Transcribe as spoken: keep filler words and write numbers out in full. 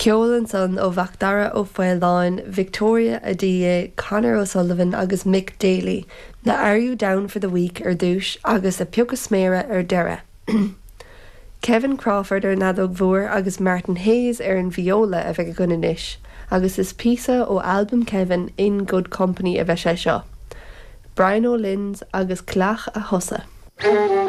Ceol ansan ó Mhacdara Ó Faoláin, Victoria Adiye, Conor O'Sullivan agus Mick Daly, le Are You Down for the Week ar dtús agus a Piocadh Sméara ar deireadh. Kevin Crawford ar an fheadóg mhór agus Martin Hayes ar an viola a bheidh againn anois, agus is píosa ó albam Kevin in Good Company a bheidh sé seo. Brian O'Lynns agus Cleach a Chosa.